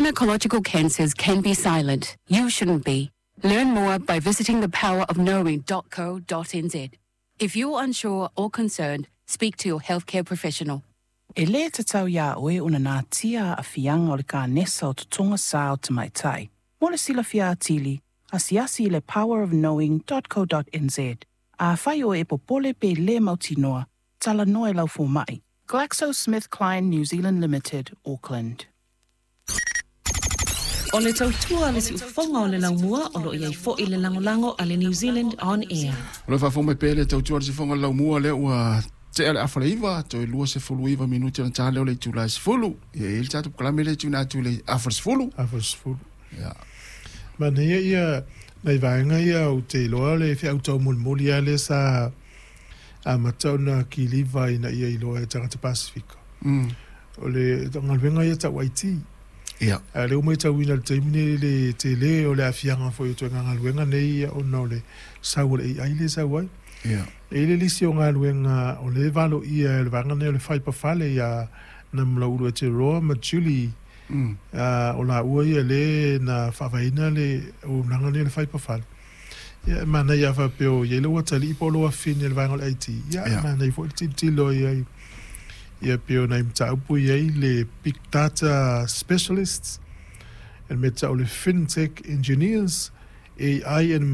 Gynecological cancers can be silent. You shouldn't be. Learn more by visiting thepowerofknowing.co.nz. If you're unsure or concerned, speak to your healthcare professional. E lē tatau iā oe ona natia aafiaga o le kanesa o totoga sā o tamaitai. Mo le silafia atili, asiasi i le powerofknowing.co.nz. Afai oe e popole pe lē mautinoa, talanoa i lau fomaʻi. GlaxoSmithKline New Zealand Limited, Auckland. O le tautua a le siufofoga o le laumua o lo o i ai foi le lagolago a le New Zealand On Air. O le faafofoga mai pea le tautua a le siufofoga o le laumua lea ua tea le afa le 9 toe 29 minute ona ta lea o le itula e 10. Ia e i ai le tatou polokalame lea e tuuina atu i le afa le 10. Afa le 10. Ia. Manaia ia nai vaega ia ou te iloa le feau taumolimoli lava lea sa amata ona kiliva ina ia iloa e tagata Pasefika. O le galuega ia tau IT. Ia. A o lea ua matauina i le taimi nei le tele o le aafiaga foi o ituaiga galuega nei ona o le sau o le AI lea e sau ai. Ia. E i ai le lisi o galuega o lea e valoia e le vaega lenei o le faipafale ia Namulauulu Eteroa ma Julie o laua ia lea na faavaeina le auaunaga lenei o le faipafale. Ia e manaia a faapea o i ai lou atalii po o lou afafine i le vaega o le IT, ia e manaia foi le tilotilo i ai ia pei o nai mataupu e i ai le Big Data Specialists, le mea e tau o le Fintech Engineers, AI and.